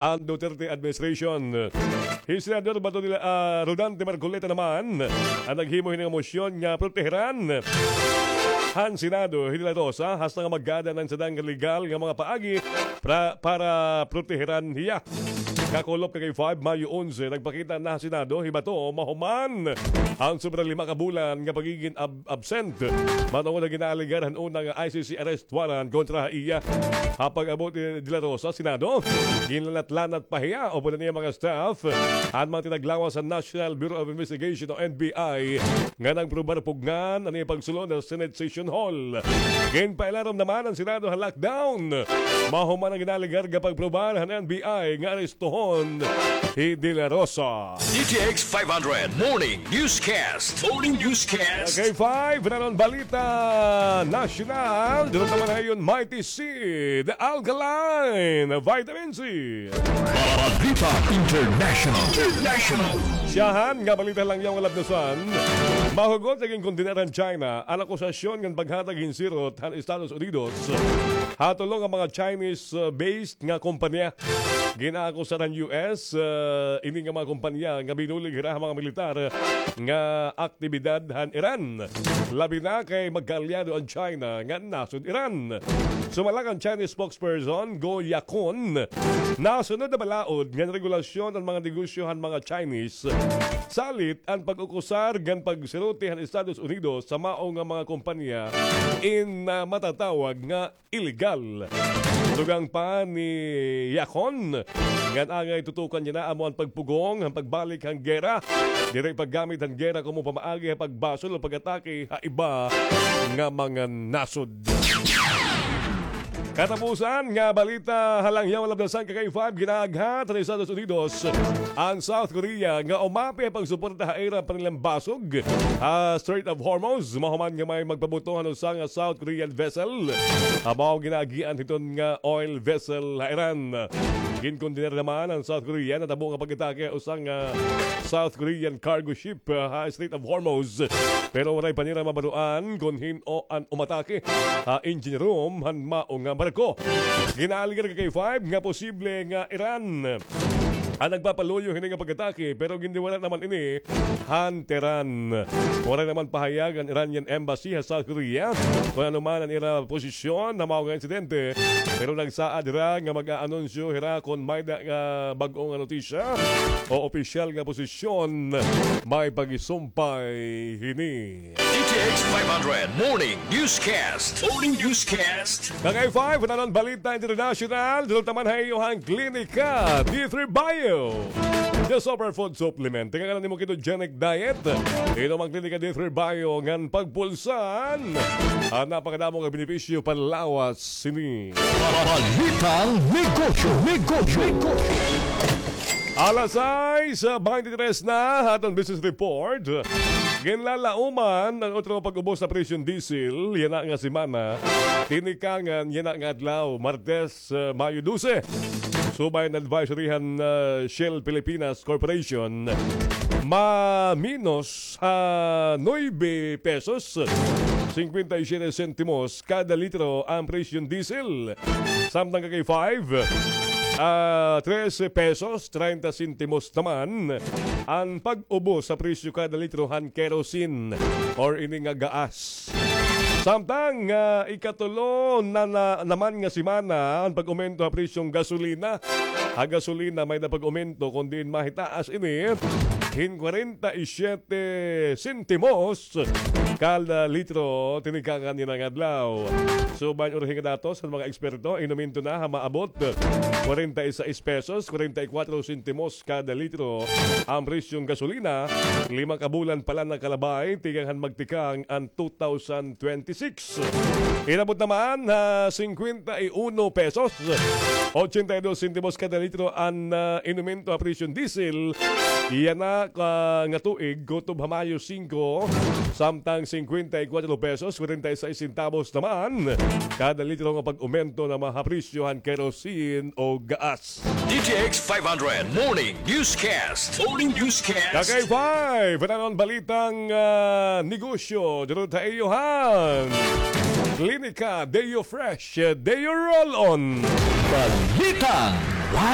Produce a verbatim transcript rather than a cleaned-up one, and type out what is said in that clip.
an Duterte administration. Hi Senador Bato de la, ah, Rodante Marcoleta naman an naghimo hini nga mosyon nga proteheran han Senado hi De La Rosa hasta nga magkada han sadang legal nga mga paagi pra-, para proteheran hiya. Kakulop ka kay five, Mayo onse, nagpakita na ha Senado hi Bato mahuman an sobra lima ka bulan nga pagigin ab-, absent matungod ha ginaalegar han una nga I C C arrest warrant kontra ha iya. Ha pag-abot ni De La Rosa, Senado, ginlanat-lanat pa hiya upod an iya mga staff an mga tinaglawas sa National Bureau of Investigation o N B I nga nagprobar pugngan an iya pagsulod ha Senate Session Hall. Ginpailarom naman an Senado ha lockdown mahuman an ginaalegar nga pagprobar han N B I nga arestuhon hi De La Rosa. D T X five hundred Morning Newscast. Morning Newscast. Kay five, nanon balita nasyonal. Dito naman ngayon, Mighty Seed, Alkaline Vitamin C. Balita International. International. Siyahan nga balita lang yaw nga labnosan. Mahugot sa ginkondenar han China an akusasyon ngan paghatag hin sirot han Estados Unidos ha tulo nga mga Chinese, uh, based nga kompanya. Ginaakusar han U S, uh, ini nga mga kompanya nga binulig hira ha mga militar nga aktibidad han Iran. Labi na kay magkaalyado an China nga nasod Iran. Sumala kan Chinese spokesperson Go Yakun, nasunod na balaod ngan regulasyon an mga negosyo han mga Chinese. Salit an pag-ukusar ngan pagsirote han Estados Unidos sa mao nga mga kompanya in, ah, matatawag nga illegal. Dugang pa ni Yakun ngan angay tutukan niya na amo an pagpugong han pagbalik han gera. Diri paggamit han gera komo pamaagi ha pagbasol o pag-atake ha iba nga mga nasod. Katapusan nga balita ha langyaw nga labnosan, ka K five, ginaaghat han Estados Unidos an South Korea nga umapi ha pagsuporta ha ira panilambasog ha Strait of Hormuz mahuman nga may magpabuto han usa nga South Korean vessel. Amo ginaagian hiton nga oil vessel ha Iran. Ginkondenar naman han South Korea natabo nga pag-atake ha usa nga South Korean cargo ship, ah, ha Strait of Hormuz. Pero waray pa nira mabaroan kon hin-o an umatake ha engine room han mao nga barko. Ginaalegar ka K five nga posible nga Iran an nagpapaluyo hini nga pag-atake, pero gindiwara naman ini han Tehran. Waray naman pahayag an Iranian embassy ha South Korea kon ano man an ira posisyon ha mao nga insidente, pero nagsaad hira nga mag-aanunsyo hira kon may-da nga bag-o nga notisya o opisyal nga posisyon may pagisumpay hini. D T X five hundred Morning Newscast. Morning Newscast. Ka K five, nanon balita international, dulot naman ha iyo han Klinika D three Bio, the superfood supplement. Tinga nimo ketogenic diet, inom an Klinika D three Bio ngan pagpulsan an napakadamo nga benepisyo panlawas sini. Balitang negosyo, negosyo, negosyo. Alas sais, ah, baynte tres na ha aton business report. Ginlalauman an utro pag-ubos sa presyo han diesel yana nga semana. Tinikangan yana nga adlaw, Martes, ah, Mayo dose. Subay an advisory han, ah, Shell Pilipinas Corporation, maminos ha nuebe pesos, singkwenta y siyete sentimos kada litro an presyo han diesel. Samtang ka K five, ah, trese pesos, treinta sentimos naman an pag-ubos sa presyo kada litro han kerosene or ini nga gaas. Samtang, ah, ikatulo na, na naman nga semana an pag-umento ha presyo han gasolina. Ha gasolina may-da pag-umento, kon diin mahitaas ini hin kwarenta y siyete sentimos kada litro tinikangan yana nga adlaw. Subay han urhi nga datos han mga eksperto, inumento na ha maabot kwarenta y sais pesos, kwarenta y kuwatro sentimos kada litro an presyo han gasolina. Lima ka bulan pa la nakalabay tikang han magtikang an two thousand twenty-six. Inabot naman ha singkwenta y uno pesos, ochenta y dos sentimos kada litro an, ah, inumento ha presyo han diesel yana ka nga tuig, kutob ha Mayo singko, samtang singkwenta y kuwatro pesos, kwarenta y sais sentabos naman kada litro nga pag-umento naman ha presyo han kerosene o gaas. D T X five hundred Morning Newscast. Morning Newscast. Ka K five, nanon balitang, ah, negosyo, dulot ha iyo han Klinika Deo Fresh, Deo Roll-On. Balitang Wow.